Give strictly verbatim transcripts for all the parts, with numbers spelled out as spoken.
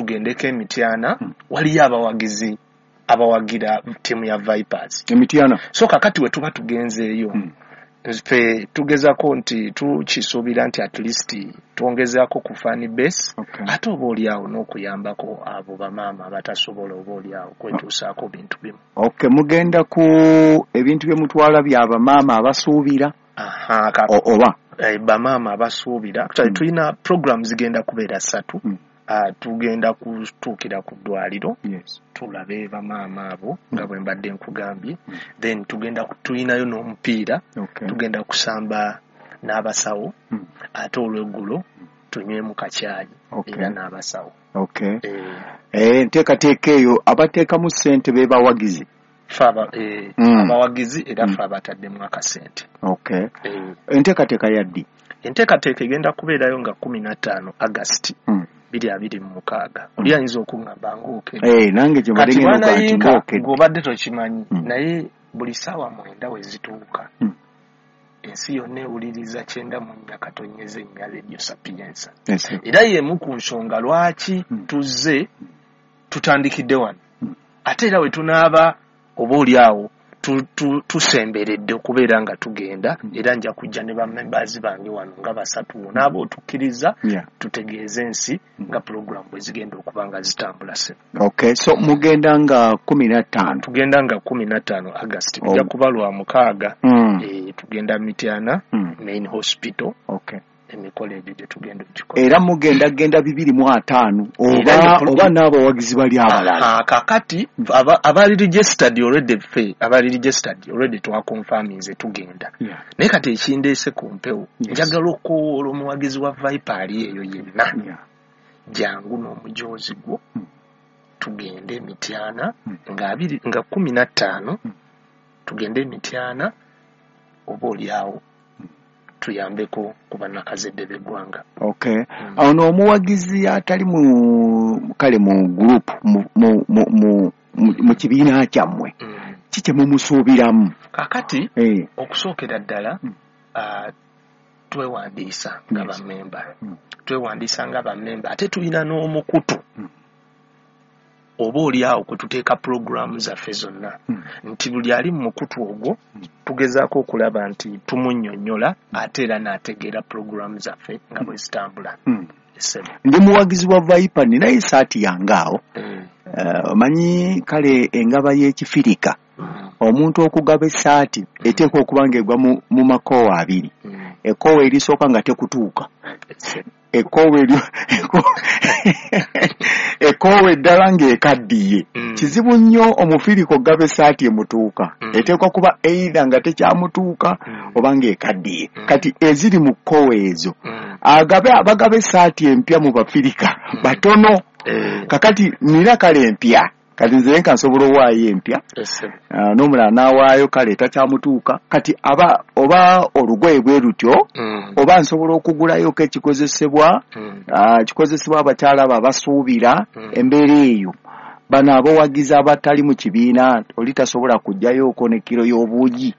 Tugendeko Emityana, waliyo abawagizi abawagira ttiimu ya Vipers Emityana. So kakati we tuba tugenzeeyo, ffe tugezako nti tukisuubira nti at least twongezaako ku fan base, Okay. ate oba oliawo n'okuyambako abo bamaama abatasobola oba oliawo kwetuusaako bintu bimu. Okay, mugenda ku ebintu bye mutwala bya bamaama abasuubira? Aha, ka, o- oba eh, bamaama abasuubira. Actually, tulina program zigenda kubeera ssatu. Mm. Ah, tugenda kutuukira ku ddwaliro, yes tulabe bamaama abo nga bwe mbadde nkugambye. Then tugenda ku- tulinayo n'omupiira. Okay tugenda kusamba n'abasawo, Mm. ate olweggulo tunywemu kacyayi Okay. era n'abasawo. okay Eh, eh enteekateeka eyo abateekamu ssente be bawagizi? Ffe aba- eh, Mm. abawagizi, era Mm. ffe abataddemu akasente. Okay Eh, enteekateeka yaddi? Enteekateeka egenda kubeerayo nga kumi na ttaano August Mm. biri abiri mu mukaaga. Oli ayinza okuŋŋamba ng'okedde. Eh, nange kye mbadde Kati ngenda okugaa nti bwanayinka ng'okedde. Ng'obadde tokimanyi, Mm. naye buli ssaawa mwenda we zituuka, Mm. ensi yonna ewuliriza kyenda mu nnya katonyeza ennya Radio Sapienza. Yes. Era y'emu ku nsonga lwaki Mm. tuzze tutandikidde wano, Mm. ate era we tunaaba oba oli awo tu- tu- tusemberedde okubeera nga tugenda, Mm. era nja kujja ne bamembers bange wano nga basatu, naaba otukkiriza, Yeah. tutegeeze ensi nga pulogulaamu bwe zigenda okuba nga zitambula se. Okay, so mugenda nga kumi na ttaano? Tugenda nga kumi na ttaano August, Oh. bijja kuba lwa mukaaga. Mm. Eh, tugenda Mityana Mm. Main Hospital. Okay emikolo egyo gye tugenda okugikola. Era mugenda genda bibiri mu ataano Era oba ne pro- oba n'abawagizi bali abalala? Aha, kakati aba- abali registered already, ffe abali registered already twakonfaminze tugenda. Yeah. Naye kati ekindeese ku mpewo, Yes. njagala okuwoola omuwagizi wa Viper ali eyo yenna, Yeah. jangu n'omujoozi gwo, Mm. tugende Emityana Mm. nga abiri nga kumi na ttaano, Mm. tugende Emityana oba oliawo tuyambeko ku bannakazadde b'eggwanga. Okay. Mm. Awo n'omuwagizi atali mu kale mu group, mu mu mu mu, mu, mu kibiina kyammwe, Mm. ki kye mumusuubiramu? Kakati Eh. okusookera ddala, Mm. ah, twewandiisa nga Yes. bammemba. Mm. Twewandiisa nga bammemba, ate tulina n'omukutu Mm. oba oli awo kwe tuteeka pulogulaamu zaffe zonna, Mm. nti buli ali mu mukutu ogwo Mm. tugezaako okulaba nti tumunnyonnyola, ate era n'ategeera pulogulaamu zaffe nga bwe zitambula. Mm. Essebo. Ndi muwagizi wa Viper, ninayo esaati yange awo. Eh, Eh, omanyi kale engaba y'ekifirika, mm, omuntu okugaba essaati eteekwa okuba ng'egwa mu, mu makoowa abiri. mm, Ekkoowa erisooka nga tekutuuka, essebo. ekkoowa eryo ekkoowa eddala ng'ekaddiye. Mm. Kizibu nnyo omufirika okugaba essaati emutuuka. Mm. Eteekwa kuba either nga tekyamutuuka Mm. oba ng'ekaddiye. Mm. Kati eziri mu kkoowa ezo, Mm. agabe abagaba essaati empya mu bafirika Mm. batono. Eh, Kakati nina kale empya, kati nze nka nsobola owaayo empya, essebo. Ah, n'omulala n'awaayo kale takyamutuuka. Kati aba oba olugoye bwe lutyo, Mm. oba nsobola okugulayoko ekikozesebwa, Mm. ah, kikozesebwa abakyala abo abasuubira. Mm. Embeera eyo, bano abawagizi abatali mu kibiina, oli tasobola kugjayooko ne kiro y'obuugi,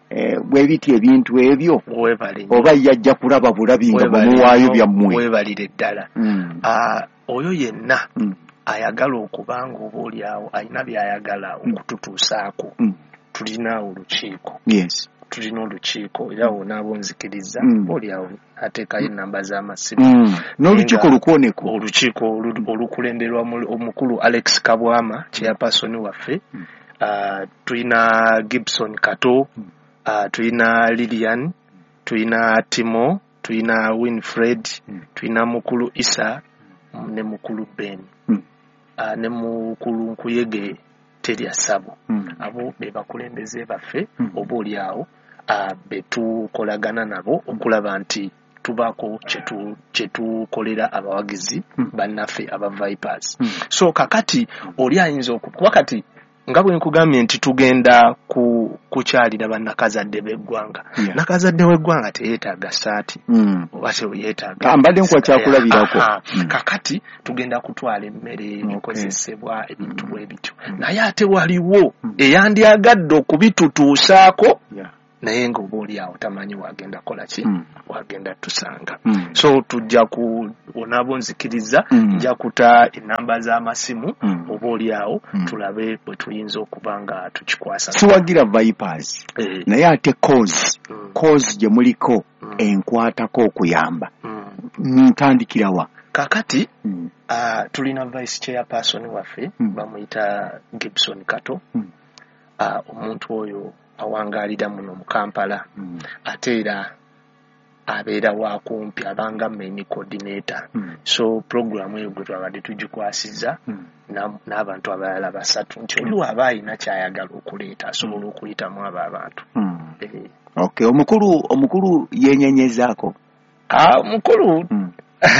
Eh, bwe biti ebintu ebyo, Weebale nnyo. oba yajja kulaba bulabi nga Weebale bwemuwaayo nnyo, byammwe? Weebalire ddala. Mm. Ah, oyo yenna Mm. ayagala okuba nga oba oli awo alina by'ayagala okututuusaako, Mm. tulina olukiiko. Yes tulina olukiiko, era wonaaba onzikiriza, Mm. oba oli awo ateekayo ennamba z'amasimu. Mm. n'olukiiko Nga- lukwoneko. Olukiiko olu- olukulemberwa mu- omukulu Alex Kabwama, chairperson waffe. Mm. Ah, tulina Gibson Kato, Mm. ah, tulina Lilian, tulina Timo, tulina Winfred, Mm. tulina mukulu Isa ne mukulu Ben, Mm. Ah, ne mukulu Nkuyege Terya Sabo. Mm. Abo be bakulembeze baffe, Mm. oba oli awo ah, be tukolagana nabo okulaba nti tubaako kyetu- kyetukolera abawagizi Mm. bannaffe aba Vipers. Mm. So kakati oli ayinza oku- kuba kati nga bwe nkugambye nti tugenda ku kukyalira bannakazadde b'eggwanga. Yeah. Nakazadde w'eggwanga teyeetaaga saati Mm. oba teyeetaaga. Ah, mbadde nkuwa kyakulabirako. Aha. Mm. Kakati tugenda kutwala emmere, Okay. ebikozesebwa, ebintu Mm. bwe bityo, Mm. naye ate waliwo Mm. eyandyagadde okubitutuusaako Yeah. Naye nga oba oli awo tamanyi wagenda kola ki, Mm. wagenda tusanga. Mm. So tujja ku onaabo nzikiriza, Mm. nja kuta enamba z'amasimu, Mm. oba oli awo Mm. tulabe bwe tuyinza okuba nga tukikwasa. Siwagira Vipers, Eh. naye ate cause, Mm. cause gye muliko Mm. enkwatako okuyamba. Mm. Ntandikira wa? Kaakati, Mm. ah, tulina vice chairperson waffe, Mm. bamuyita Gibson Kato. Mm. Ah, omuntu oyo awangaalira muno mu Kampala, Mm. ate era abeera wa kumpi, abanga main coordinator. Mm. So program eyo gwe twabadde tugikwasizza Mm. na-, n'abantu abalala basatu, nti oli w'aba alina ky'ayagala okuleeta asobola okuyitamu abo abantu. Mm. Eh. Okay, omukulu, omukulu yenyenyezaako? Ah, omukulu, Mm.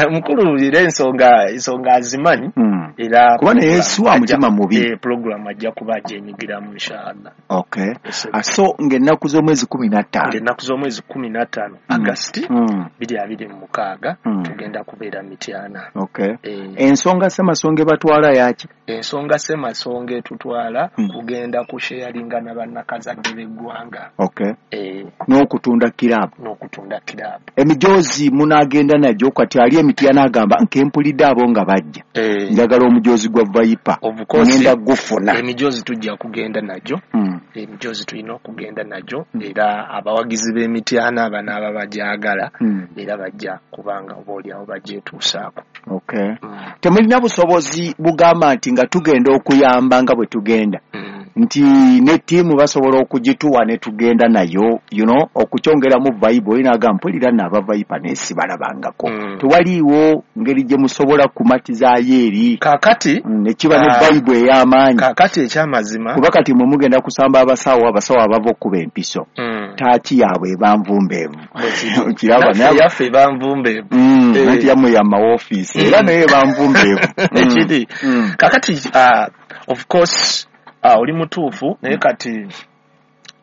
omukulu era ensonga, ensonga azimanyi. Mm. Era kuba naye program si wa mutima ajja- mubi. Eh, program ajja kuba agyenyigiramu inshallah. Okay. Yes, Ah, so ng'ennaku z'omwezi kumi na ttaano. Ng'ennaku z'omwezi kumi na ttaano, Mm. August, Mm. biri abiri mu mukaaga, Mm. tugenda kubeera Mityana. Okay. Eh, Ensonga Ssemasonga ebatwala yaki? Ensonga Ssemasonga etutwala Mm. kugenda kusharinga na bannakazadde b'eggwanga. Okay. Eh, N'okutunda kiraabu. N'okutunda kiraabu. Emijoozi munaagenda nagyo, kati ali Emityana agamba nkempulidde abo nga bajja. Eh. Njagala omujoozi gwa Viper. Of course, Ngenda gufuna. Emijoozi tujja kugenda nagyo. Mm. Emijoozi tulina okugenda nagyo. Mm. Era abawagizi b'Emityana banaaba bagyagala, Mm. era bajja kubanga oba oliawo bagyetuusaako. Okay. Mm. Temulina busobozi bugamba nti nga tugenda okuyamba nga bwe tugenda. Mm. Nti ne ttiimu basobola okugituwa ne tugenda nayo, you know, okukyongeramu vibe, olina agamba mpulira nno aba Viper naye sibalabangako. Mm. Tewaliiwo ngeri gye musobola kumatizaayo eri. Kaakati, Mm, ne kiba ne ah, vibe ey'amaanyi. Kaakati ekyamazima. Kuba kati mwe mugenda kusamba abasawo, abasawo abava okkuba empiso. Mm. Taaki yaabwe eba nvumbeevu. Bwe kiri. Okiraba, Naffe naye yaffe eba nvumbeevu. Mm, Eh. anti yammwe ya mawoofiisi, era Mm. naye eba nvumbeevu. Mm. Ekiri. Mm. Kaakati, ah, of course, ah, oli mutuufu, naye Mm. kati,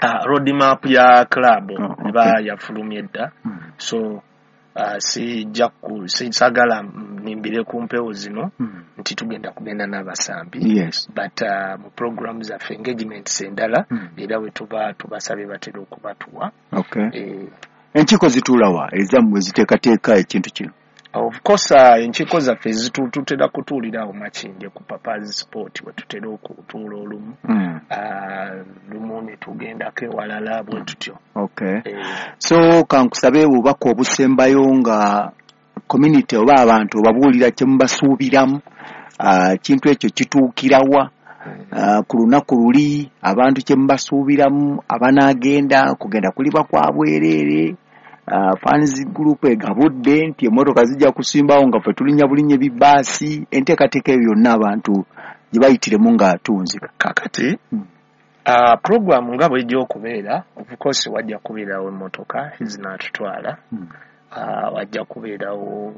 ah, road map ya club Oh, okay. eba yafulumye dda. Mm. So, ah, sijja ku-, sisagala nnimbire ku mpewo zino Mm. nti tugenda kugenda n'abasambi. Yes. But, ah, mu program zaffe engagements endala, Mm. era bwe tuba tubasabye batera okubatuwa. Okay. Eh, Enkiiko zituula wa ezammwe ziteekateeka ekintu kino? Of course, uh, enkiiko zaffe zitu-, tutera kutuulira awo Makindye ku Papa's Sport we tutera okutuula olumu. Mm. Uh, lumu ne tugendako ewalala bwe tutyo. Okay. Eh. So kankusabe obubaka obusembayo nga community oba abantu obabuulira kye mubasuubiramu, uh, ekintu ekyo kituukirawa, uh, ku lunaku luli abantu kye mubasuubiramu, abanaagenda kugenda kuliba kwa bwereere. Uh, fans group egabudde nti emmotoka zijja kusimbawo nga ffe tulinnya bulinnya ebibaasi, enteekateeka eyo yonna abantu gye bayitiremu nga tunzika. Kaakati, Hmm. uh, program nga bw'ejja okubeera, of course wajja kubeerawo emmotoka ezinaatutwala. Hmm. Uh, wajja kubeerawo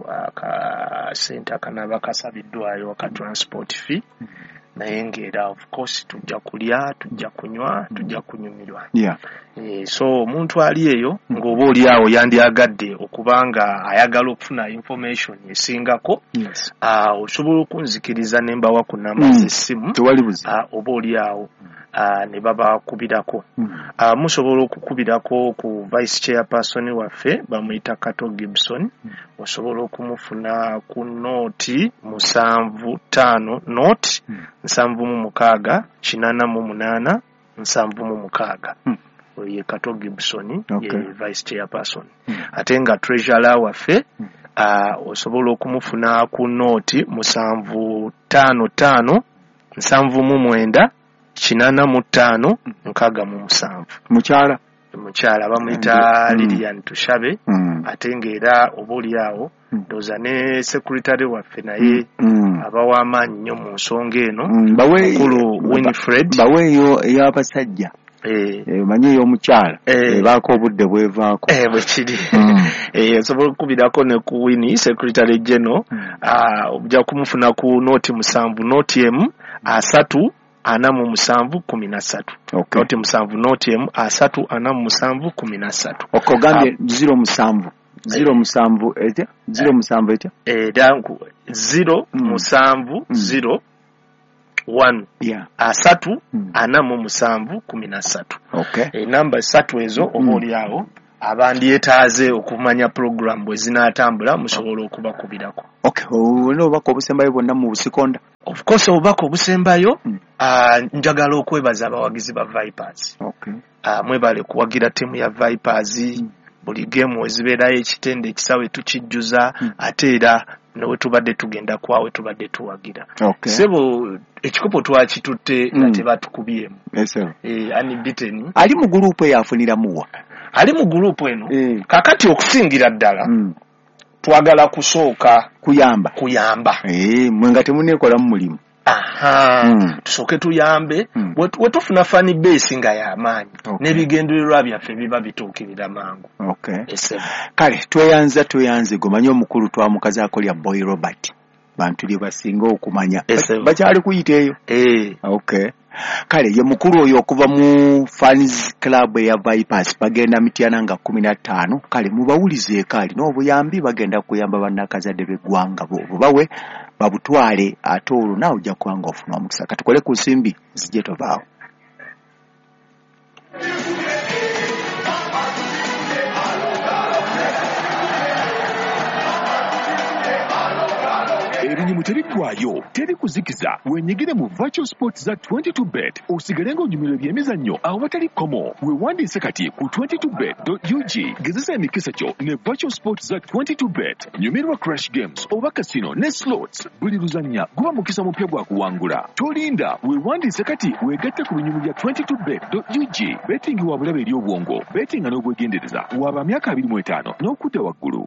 akasente akanaaba kasabiddwayo aka transport fee. Hmm. Naye ng'era of course tujja kulya, tujja kunywa, tujja kunyumirwa. Yeah. Eh, so omuntu ali eyo ng'oba oli awo yandyagadde okuba nga ayagala okufuna information esingako, Yes. ah, osobola okunzikiriza ne mbawa ku namba Mm. z'essimu, Tewali buzibu. ah, oba oli awo, ah, ne babakubirako. Mm. Ah, musobola okukubirako ku vice chairperson waffe bamuyita Kato Gibson. Mm. Osobola okumufuna ku nooti musanvu ttaano nooti Mm. nsanvu mu mukaaga kinaana mu munaana nsanvu mu mukaaga. Mm. Oyo ye Kato Gibson, Okay. ye vice chairperson. Mm. Ate nga treasurer waffe, Mm. ah, osobola okumufuna ku nooti musanvu ttaano ttaano nsanvu mu mwenda kinaana mu ttaano nkaaga mu musanvu. Mukyala? Mukyala bamuyita Mm. Lilian Tushabe. Mm. Ate ng'era oba oli awo, Mm. ndowooza ne secretary waffe naye Mm. aba w'amaanyi nnyo mu nsonga eno. Mm. Bawe- Mukulu ba- Winifred. Baweeyo ey'abasajja. Eh. Eh, omanyi ey'omukyala. Eh. Ebaako obudde bwevaako. Eh, bwe kiri. Mm. Eh, osobola okukubirako ne ku Winnie, secretary general. Mm. Ah, ojja kumufuna ku nooti musanvu, nooti emu, asatu, ana mu musanvu, kumi na ssatu. Okay. Nooti musanvu, nooti emu, asatu, ana mu musanvu, kumi na ssatu. Okay, ogambye Ah. zero musanvu. Zero musanvu etya? Zero musanvu etya? Era nku, zero Mm. musanvu, Mm. zero, one Yeah. asatu Mm. ana mu musanvu kumi na ssatu. Okay. Enamba ssatu ezo oba Mm. oli awo abandyetaaze okumanya puroguramu bwe zinaatambula musobola okubakubirako. Okay, olina obubaka obusembayo bwonna mu busikonda? Of course, obubaka obusembayo, Mm. ah, njagala okwebaza abawagizi ba Vipers. Okay. Ah, mwebale kuwagira ttiimu ya Vipers. Mm. Buli geemu ezibeerayo ekitende ekisaawe tukijjuza, Mm. ate era ne tubadde tugenda kwawe tubadde tuwagira. Okay. Ssebo, ekikopo twakitutte nga Mm. tebatukubyemu. Yes, sir. Eh, unbeaten. Ali mu gurupu eyo afuniramu wa? Ali mu gurupu eno Eh. kakati okusingira ddala Mm. twagala kusooka Kuyamba. kuyamba. Eh, mwe nga temuneekolamu mulimu. Aha. Mm. Tusooke tuyambe. Mm. We tufuna fan base nga y'amaanyi, Okay. n'ebigendererwa byaffe biba bituukirira mangu. Okay. Esebo. Kale tweyanza tweyanze gomanyi omukulu twamukazaako lya Boy Robert, bantu lye basinga okumanya. Esebo. Bakyali kuyita eyo. Eh. Okay. Kale ye mukulu oyo okuva mu fans club eya Vipers, bagenda Mityana nga kkumi na ttaano. Kale mubawulizeeko, alina obuyambi, bagenda kuyamba bannakazadde b'eggwanga bo bubawe babutwale, ate olwo naawe ojja kuba nga ofuna omukisa. Katukole ku nsimbi zijje tovaawo. Ebinyumu tebiggwayo, teri kuzikiza. Wenyigire mu virtual sports za twenty-two bet osigale ng'onyumirwa ebyemizannyo awatali kkomo. Weewandiise kati ku twenty-two bet dot U G. Gezesa emikisa gyo ne virtual sports za twenty-two bet. Nyumirwa crash games oba casino ne slots. Buli luzannya guba mukisa mupya gwa kuwangula. Tolinda, weewandiise kati weegatte ku binyumu bya twenty-two bet dot U G. Betting wa bulabe eri obwongo, bettinga n'obwegendereza. Waba myaka abiri mu etaano n'okudda waggulu.